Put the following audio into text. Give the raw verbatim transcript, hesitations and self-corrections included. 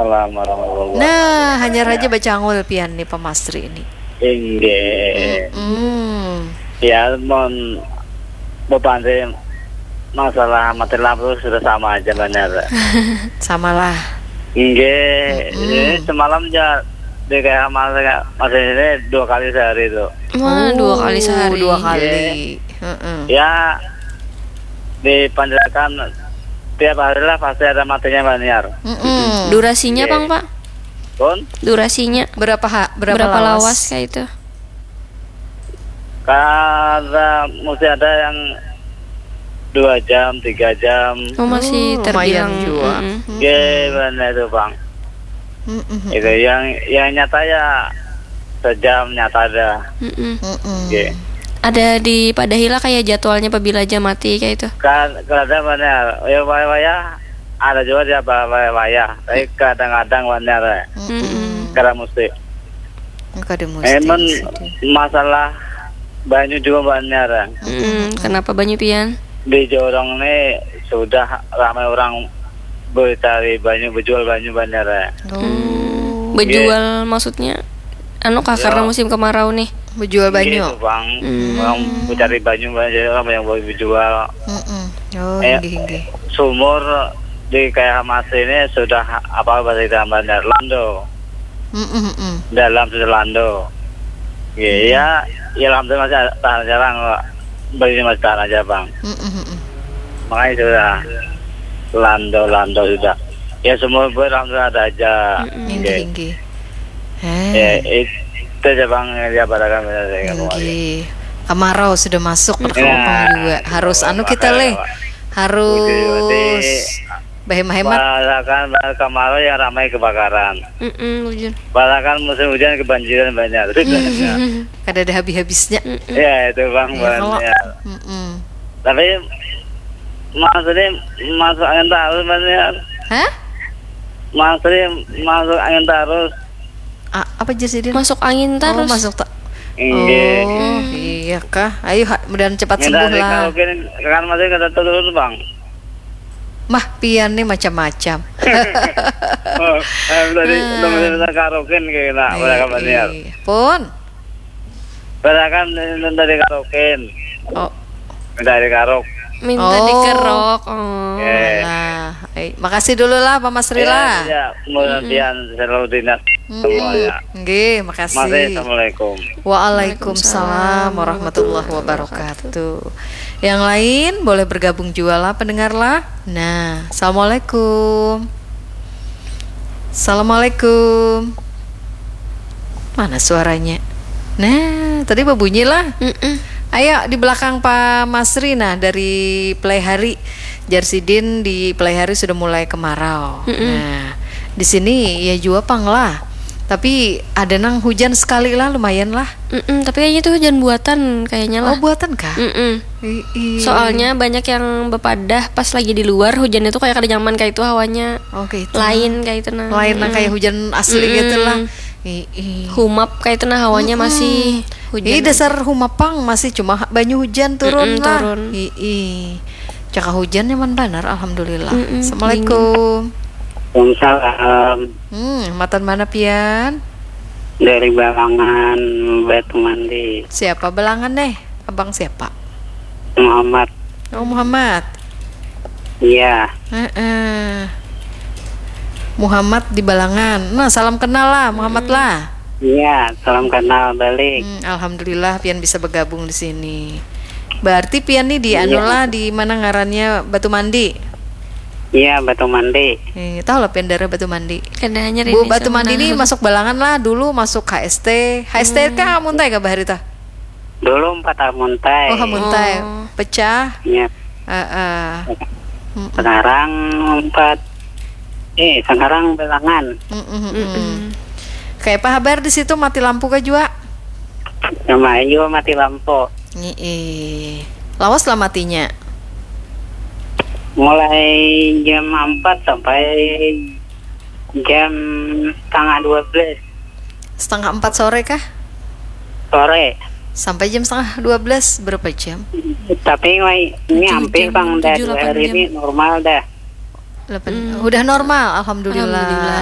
Waalaikumsalam warahmatullahi wabarakatuh. Nah, hanyar haja bacangul pian nih, Pak Masri ini. Inggih. Hmm. Ya, mun bepanti masalah mati lampu sudah sama aja, Mbak Niar. Samalah. Inggih. Mm-mm. Ini semalam ja di K H Masri ini dua kali sehari tuh. Wah, dua kali sehari. Oh, dua kali. Inggih. Heeh. Ya, dipanjarakan tiap hari lah pasti ada matinya, Mbak Niar. Mm-mm. Durasinya, Inggih. Pang, Pak? Pun? Durasinya. Berapa ha-, berapa Berapa lawas? lawas kayak itu? Kada mesti ada yang dua jam, tiga jam. Oh, masih Oh, lumayan terbilang, jua. Mm-mm. Inggih, benar itu, Bang. Mm-mm. Itu yang, yang nyata ya sejam nyata ada. Mm-mm. Mm-mm. Inggih. Ada dipadahi lah kayak jadwalnya pabila aja mati kayak itu. Kan, kada, benar. Ya, wayah-wayah ada juga dia ba-, wayah-wayah. Tapi kadang-kadang, benar. Mm-mm. Kada mesti. Kada mesti Emang sih, dia. Masalah banyu juga, Mbak Niar. Mm-mm. Kenapa banyu pian? Di Jorong nih sudah ramai orang bercari banyu, berjual banyu, Mbak Niar. Oh. Hmm. Bejual Iya. maksudnya? Anu kah, Ya. karena musim kemarau nih? Bejual Iya, banyu. itu, Bang. Hmm. Orang bercari banyu, Mbak, jadi orang banyak berjual. Mm-mm. Oh, Eh, inggih, inggih. Sumur di K H Masri ini sudah, apa, bahasa kita, Mbak Niar, lando. Mm-mm, mm-mm. Dalam sudah lando. Ya, ya, ya, alhamdulillah masih tahan aja, Bang. Belinya masih tahan aja, Bang. Mm-mm, mm-mm. Makanya sudah lando-lando sudah. Ya, semua buat alhamdulillah ada aja. Mm-mm. Inggih, Oke. inggih. Eh. Ya, itu aja, Bang, yang dia barakan, benar, saya kembali. Inggih. Kemarau sudah masuk, Ya. berkelompok juga. Harus anu kita, Makanya, Le. Pak. Harus Uji-uji. Bahem-hemat. Barakan, barakan kemarau yang ramai kebakaran. Mm-mm, bujur. Barakan musim hujan kebanjiran banyak. Itu banyak. Kada ada habis-habisnya. Mm-mm. Ya, itu, Bang, Ya, kalau banyak. Mm-mm. Tapi, maksudnya, masuk angin tarus, Mas, ya. Hah? Maksudnya, masuk angin tarus. A-, apa, Jas Sidin? Masuk angin Oh, tarus. masuk ta-, Inggih. Oh, Hmm. iya kah? Ayo, ha-, mudahan cepat Minta sembuh lah. dikaraokein, kan masih kada turun, Bang. Mah, pian nih macam-macam. Oh, eh, minta di-, Hmm. minta karaokein kayak nak, Iya, mereka Mas Niar. iya. Pun. Barakan minta dikarokin. Oh. Minta dikarok. Minta Oh. dikerok. Oh. Oke. Lah, eh, makasih dulu lah, Pak Masri Ya, lah. ya, mudah-mudahan selalu dinas Mm-mm. semua ya. Nggih, makasih. Masih, assalamualaikum. Waalaikumsalam warahmatullahi wabarakatuh. Yang lain boleh bergabung juga lah, pendengar lah. Nah, assalamualaikum. Assalamualaikum. Mana suaranya? Nah, tadi berbunyi lah. Mm-mm. Ayo, di belakang Pak Masri, nah, dari Pelaihari. Jar sidin di Pelaihari sudah mulai kemarau. Mm-mm. Nah, di sini ya jua pang lah. Tapi ada nang hujan sekali lah, lumayan lah. Mm-mm, tapi kayaknya itu hujan buatan, kayaknya lah. Oh, buatan kah? Mm-mm. Ih, ih. Soalnya banyak yang bepadah pas lagi di luar, hujannya tuh kayak kada nyaman, kayak itu hawanya Oke, itu. lain kayak itu, nah. Lain nang Mm-mm. kayak hujan asli Mm-mm. gitu lah. Ih, ih. Humap kayak itu, nah, hawanya Mm-mm. masih hujan Ih, aja. Dasar humap pang, masih cuma ha-, banyu hujan turun Mm-mm, lah. turun. Ih, ih. Caka hujan nyaman banar, alhamdulillah. Mm-mm, Assalamualaikum. Waalaikumsalam. Hmm, matan mana pian? Dari Balangan, Batu Mandi. Siapa Balangan deh? Abang siapa? Muhammad. Oh, Muhammad. Iya. Heeh. Muhammad di Balangan. Nah, salam kenal lah, Muhammad Hmm. lah. Iya, salam kenal balik. Hmm, alhamdulillah pian bisa bergabung di sini. Berarti pian nih di Iya. anu lah, di mana ngarannya, Batu Mandi? Iya, Batu Mandi. Eh, tahu lah pian daerah Batu Mandi. Kada hanya Bu, ini Batu Mandi sebenarnya. Nih masuk Balangan lah, dulu masuk H S T. H S T Hmm. kah Muntai kah bahari tah? Dulu empat Hamuntai. Oh, Hamuntai. Oh. Pecah. Iya. Heeh. Mm-mm. Sekarang empat. Eh, sekarang Belangan. Mm-mm, mm-mm. Mm-mm. Kayak apa habar di situ, mati lampu kah jua? Lumayan juga mati lampu. Ih, lawas lah matinya. Mulai jam empat sampai jam setengah dua belas. Setengah empat sore kah? Sore. Sampai jam setengah dua belas, berapa jam? Tapi, wai, ini Tujuh hampir jam, bang, dah tujuh, dua delapan hari jam. Ini normal dah. Delapan. Hmm. Udah normal, alhamdulillah. Alhamdulillah.